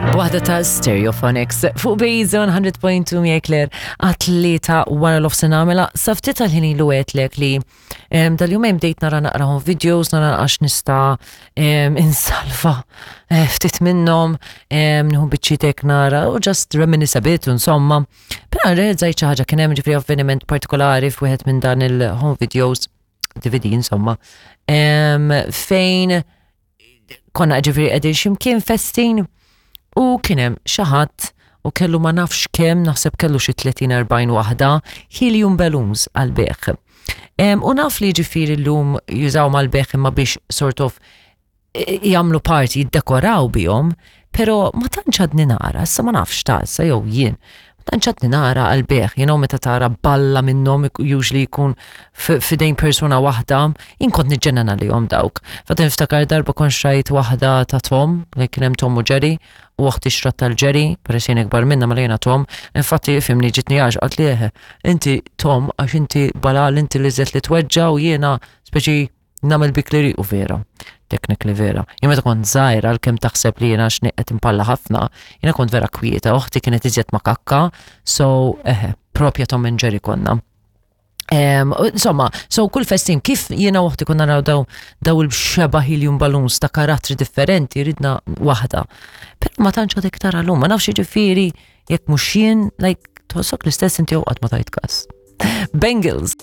Waħda ta' Stereophonics fuq Bejza 100.2 miegħek Claire għat-tlieta wara l-ofsin għamela sa ftit tal-ħin ilu għedtlek li Dal-jumejn bdejt nara naqrahom videos, nara għax nista insalva eh, ftit minnhom, nieħu biċċitek nara u just reminisce a bit, insomma. Però realizzajt xi ħaġa kien hemm ġifri avveniment partikolari f'wieħed minn dan il-home videos, DVD insomma, fejn konna ġifiri qegħdin x'imkien festin u kien hemm xi ħadd u kellu ma nafx kemm naħseb kellu xi 30-40 waħda helium balloons għal beħ. U naf li ġifiri llum jużaw mal-beħ imma biex sort of jagħmlu parti jiddekoraw bihom, pero ma tantx għadni nara, issa ma nafx ta' issa jew jien, ma tantx għadni nara għal-beħ, you know, meta tara balla minnhom usually jkun f'idejn persuna waħda, jien kont niġġennan għalihom dawk. Fatt niftakar darba kont xrajt waħda ta' Tom, li kien hemm Tom u Jerry, u oħti xtrat tal-Jerry, peress jien ikbar minna mela jiena Tom, infatti ifhimni ġitni għax qalt li eħe, inti Tom għax inti balal inti li żed li tweġġa' u jiena speċi Nagħmel bik li u vera. Technically vera. Jien meta kont żgħir għalkemm taħseb li jiena x'ni qed impalla ħafna, jiena kont vera kwieta, oħti kienet iżjed makakka, so eħe, propja Tom and Jerry konna. Insomma, so kull festin, kif jiena uħti konna naraw daw, daw il-xeba helium balloons ta' karattri differenti, ridna waħda. Pero ma tantx għadek tara l-lum, ma nafx ġifieri jekk mhux jien, like, tħossok l-istess inti qatt ma tajt kas. Bengals.